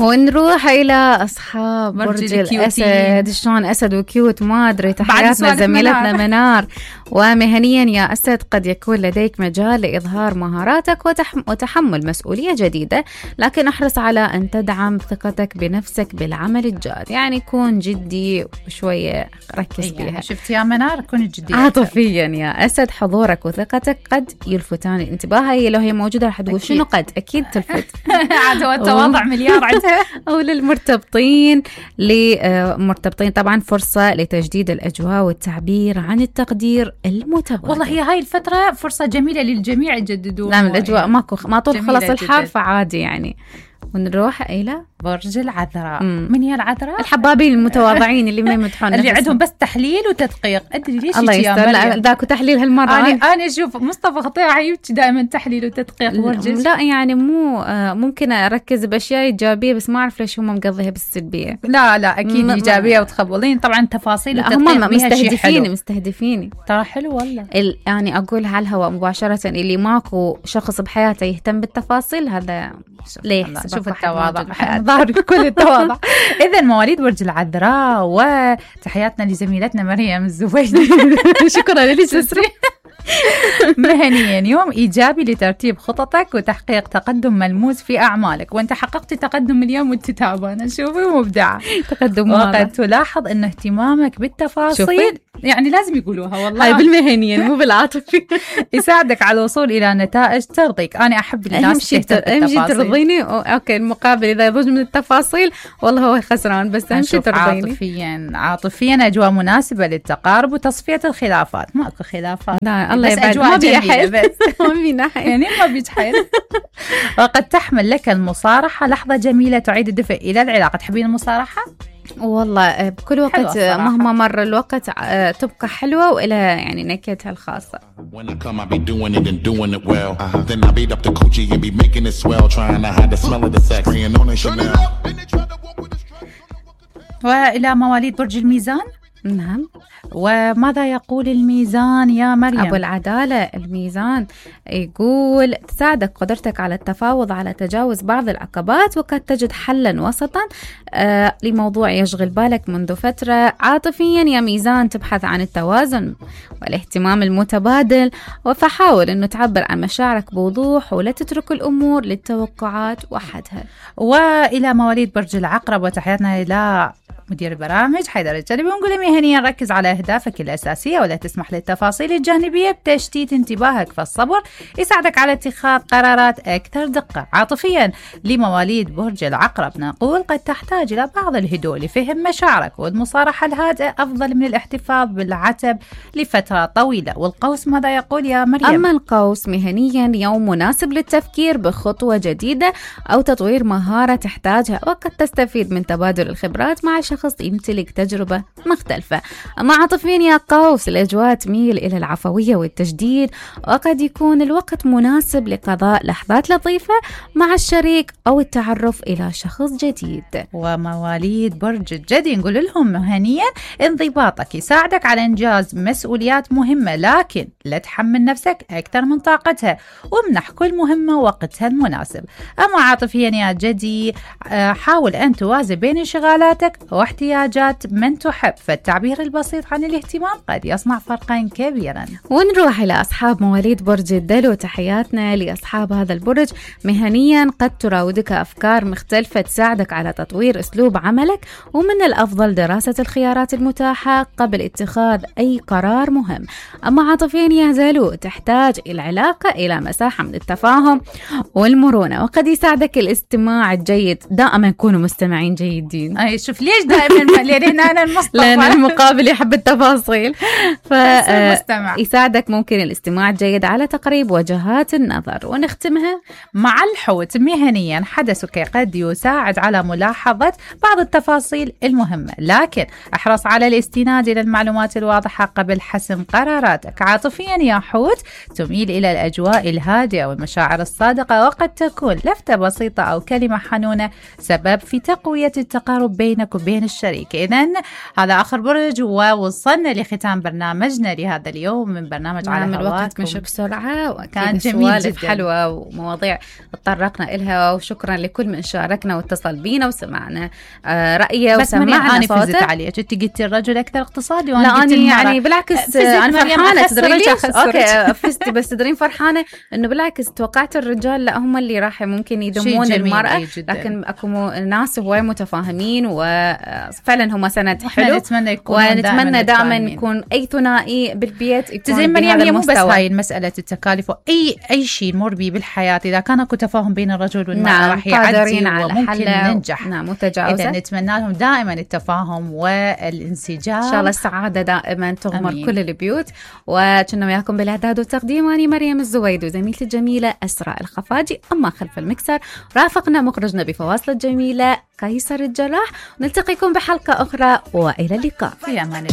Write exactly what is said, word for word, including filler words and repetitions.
ونروح إلى أصحاب برج الأسد. شلون أسد وكيوت ما أدري. تحياتنا زميلتنا منار. ومهنيا يا أسد قد يكون لديك مجال لإظهار مهاراتك وتحم وتحمل مسؤولية جديدة، لكن احرص على أن تدعم ثقتك بنفسك بالعمل الجاد. يعني كون جدي وشوية ركز يعني بيها. شفت يا منار كون جدي. عاطفيا يا أسد حضورك وثقتك قد يلفتان الانتباه. هي لو هي موجودة رح تقول شنو قد أكيد تلفت. عاد هو التواضع مليار عندها. أو للمرتبطين لمرتبطين طبعا فرصة لتجديد الأجواء والتعبير عن التقدير المتبادل. والله هي هاي الفترة فرصة جميلة للجميع يجددون. نعم الأجواء ماكو ما طول خلص الحار جداً. فعادي يعني. ونروح إلى برج العذراء. من هي العذراء؟ الحبابين المتواضعين اللي ما يمدحون اللي عندهم بس تحليل وتدقيق. أدري ليش الله يستر. ذاكو تحليل هالمرة. أنا أنا أشوف مصطفى خطير يبكي دائما تحليل وتدقيق برج. لا يعني مو ممكن أركز بأشياء إيجابية بس ما أعرف ليش هم مقضيها بالسلبية. لا لا أكيد إيجابية وتخبلين طبعا تفاصيل وتدقيق. هم مستهدفيني مستهدفيني ترى حلو والله. يعني أقول على الهواء مباشرة اللي ماكو شخص بحياته يهتم بالتفاصيل هذا ليه. شوف التواضع ظهر كل التواضع. إذا مواليد برج العذراء وتحياتنا لزميلتنا مريم الزويدي. شكرا لك سسري. مهنيا يوم إيجابي لترتيب خططك وتحقيق تقدم ملموس في أعمالك، وأنت حققت تقدم اليوم وأنت تعبانة. شوفي مبدعة تقدم. وقد تلاحظ أن اهتمامك بالتفاصيل يعني لازم يقولوها والله. هاي بالمهنيا مو بالعاطفي. يساعدك على الوصول إلى نتائج ترضيك. أنا أحب الناس أهم شيء ترضيني. أوكي المقابل إذا يضج من التفاصيل والله هو خسران، بس أهم شيء ترضيني. عاطفيا عاطفيا أجواء مناسبة للتقارب وتصفية الخلافات. ماكو خلافات. الله يبعد. ما بيحل بس ما بينحل يعني ما بيتحل. وقد تحمل لك المصارحة لحظة جميلة تعيد الدفء إلى العلاقة. تحبين المصارحة؟ والله بكل وقت مهما مر الوقت تبقى حلوة وإلى يعني نكهتها الخاصة. وإلى مواليد برج الميزان. نعم. وماذا يقول الميزان يا مريم؟ أبو العدالة الميزان يقول تساعدك قدرتك على التفاوض على تجاوز بعض العقبات، وقد تجد حلا وسطا آه لموضوع يشغل بالك منذ فترة. عاطفيا يا ميزان تبحث عن التوازن والاهتمام المتبادل، فحاول أنه تعبر عن مشاعرك بوضوح ولا تترك الأمور للتوقعات وحدها. وإلى مواليد برج العقرب وتحياتنا إلى مدير البرامج حيدر الجلبي، ونقول مهنيا ركز على أهدافك الأساسية ولا تسمح للتفاصيل الجانبية بتشتيت انتباهك، فالصبر يساعدك على اتخاذ قرارات أكثر دقة. عاطفيا لمواليد برج العقرب نقول قد تحتاج إلى بعض الهدوء لفهم مشاعرك، والمصارحة الهادئة أفضل من الاحتفاظ بالعتب لفترة طويلة. والقوس ماذا يقول يا مريم؟ أما القوس مهنيا يوم مناسب للتفكير بخطوة جديدة أو تطوير مهارة تحتاجها، وقد تستفيد من تبادل الخبرات مع شخص يمتلك تجربة مختلفة. أما عاطفيا يا قوس الأجواء تميل إلى العفوية والتجديد، وقد يكون الوقت مناسب لقضاء لحظات لطيفة مع الشريك أو التعرف إلى شخص جديد. ومواليد برج الجدي نقول لهم مهنيا انضباطك يساعدك على إنجاز مسؤوليات مهمة، لكن لا تحمل نفسك أكثر من طاقتها، وامنح كل مهمة وقتها المناسب. أما عاطفيا يا جدي حاول أن توازن بين انشغالاتك واحتياجات من تحب، فالتعبير البسيط عن الاهتمام قد يصنع فرقا كبيرا. ونروح إلى أصحاب مواليد برج الدلو. تحياتنا لأصحاب هذا البرج. مهنيا قد تراودك أفكار مختلفة تساعدك على تطوير أسلوب عملك، ومن الأفضل دراسة الخيارات المتاحة قبل اتخاذ أي قرار مهم. أما عاطفيا يا دلو تحتاج العلاقة إلى مساحة من التفاهم والمرونة، وقد يساعدك الاستماع الجيد. دائما كونوا مستمعين جيدين. أي شوف ليش دائما لأن أنا المصطفى لأن المقابل يحب التفاصيل، فيساعدك ممكن الاستماع الجيد على تقريب وجهات النظر. ونختمها مع الحوت. مهنيا حدثك قد يساعد على ملاحظة بعض التفاصيل المهمة، لكن احرص على الاستناد إلى المعلومات الواضحة قبل حسم قراراتك. عاطفيا يا حوت تميل إلى الأجواء الهادئة والمشاعر الصادقة، وقد تكون لفتة بسيطة أو كلمة حنونة سبب في تقوية التقارب بينك وبين الشريك. إذن هذا آخر برج، ووصلنا لختام برنامجنا لهذا اليوم من برنامج على هواكم. الوقت مش بسرعة، كان جميل جدا، حلوة ومواضيع تطرقنا إلها، وشكرا لكل من شاركنا واتصل بينا وسمعنا آه رأيه وسمعنا صوته. بس عليك انت قلتي الرجل أكثر اقتصادي، وأنا لا أنا يعني بالعكس أنا فرحانة. تدرين ليش؟ أوكي فزتي، بس تدرين فرحانة إنه بالعكس توقعت الرجال لا هم اللي راح ممكن يدمون المرأة، لكن أكو ناس هواي متفاهمين وفعلا هم سند حلو. نتمنى يكون ونتمنى دائما يكون أي ثنائي بالبيت يكون زين مريم. هي مو بس هاي المسألة التكاليف، أي أي شيء نمر به بالحياة إذا كان اكو تفاهم بين الرجل والمرأة نعم راح يعدي وممكن ننجح. نعم متجاوزة. إذا نتمنى لهم دائما التفاهم والانسجام، إن شاء الله السعادة دائما تغمر أمين. كل البيوت. وكنا وياكم بالإعداد والتقديم أنا مريم الزويد وزميلتي الجميلة أسراء الخفاجي، أما خلف المكسر رافقنا مخرجنا بفواصل الجميلة قيصر الجراح. نلتقيكم بحلقة أخرى وإلى اللقاء. في أمان.